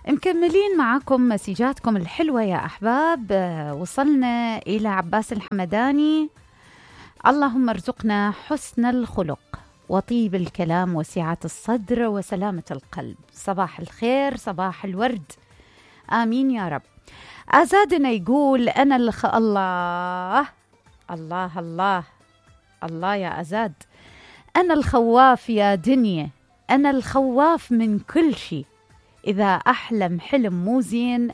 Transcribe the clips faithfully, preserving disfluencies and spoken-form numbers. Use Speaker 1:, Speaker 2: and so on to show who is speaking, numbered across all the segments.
Speaker 1: مكملين معكم مسيجاتكم الحلوة يا أحباب. وصلنا إلى عباس الحمداني. اللهم ارزقنا حسن الخلق وطيب الكلام وسعة الصدر وسلامة القلب. صباح الخير، صباح الورد، آمين يا رب. أزادنا يقول أنا الخ... الله الله الله الله يا أزاد، أنا الخواف يا دنيا، أنا الخواف من كل شيء. إذا أحلم حلم مو زين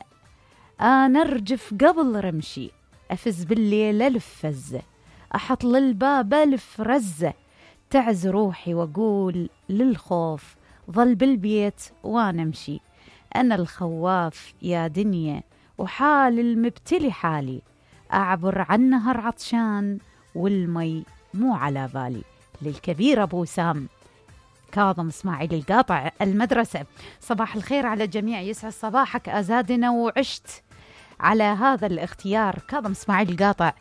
Speaker 1: أنا أرجف قبل رمشي، أفز بالليل ألف فزة، أحط للباب ألف رزة، تعز روحي وأقول للخوف ظل بالبيت وأنا أمشي. أنا الخواف يا دنيا وحال المبتلي حالي، أعبر عن نهر عطشان والمي مو على بالي. للكبير أبو سام كاظم اسماعيل القاطع المدرسة. صباح الخير على الجميع، يسعد صباحك أزادنا، وعشت على هذا الاختيار. كاظم اسماعيل القاطع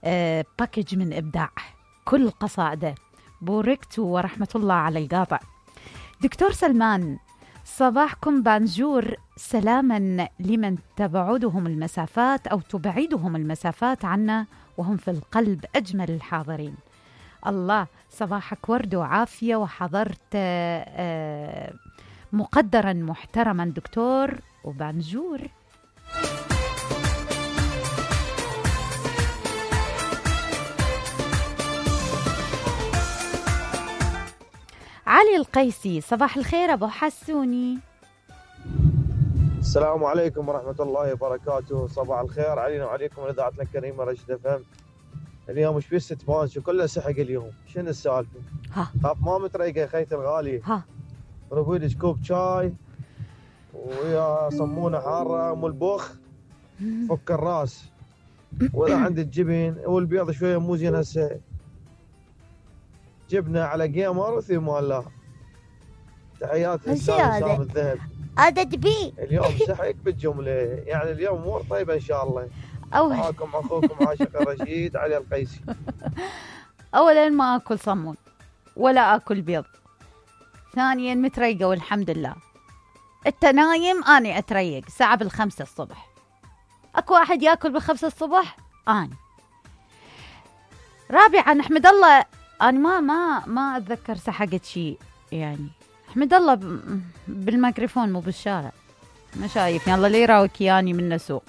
Speaker 1: أه باكج من إبداع، كل قصائده بوركت ورحمة الله على القاطع. دكتور سلمان صباحكم بانجور، سلاما لمن تبعدهم المسافات أو تبعدهم المسافات عنا وهم في القلب أجمل الحاضرين. الله صباحك ورد وعافية، وحضرت مقدرا محترما دكتور وبانجور. علي القيسي صباح الخير أبو حسوني.
Speaker 2: السلام عليكم ورحمة الله وبركاته. صباح الخير علينا وعليكم إذاعتنا الكريمة رشد اف ام. اليوم ايش بيست مانشو كله سحق اليوم، شنو السالفة؟
Speaker 1: ها
Speaker 2: خاف ما متريقة يا خيتي الغالي.
Speaker 1: ها
Speaker 2: روي لك كوب شاي ويا صمونة حارة ام البخ فك الراس، ولا عندك جبن والبيض شوية مو زين هسه، جبنة على جيمر وثمان الله. تحياتي للسلام الذهب.
Speaker 1: هذا تبي
Speaker 2: اليوم سحق بالجملة، يعني اليوم امور طيبة ان شاء الله.
Speaker 1: أول
Speaker 2: معاكم اخوكم عاشق الرشيد علي القيسي.
Speaker 1: اولا ما اكل صمون ولا اكل بيض، ثانيا متريقة والحمد لله. انت نايم اني اتريق ساعة بالخمسة الصبح. اكو واحد ياكل بالخمسة الصبح؟ اني. رابعا احمد الله، انا ما ما ما اتذكر سحقت شيء يعني. احمد الله بالميكروفون مو بالشارع، ما شايفني الله لي يراوك ياني من سوق.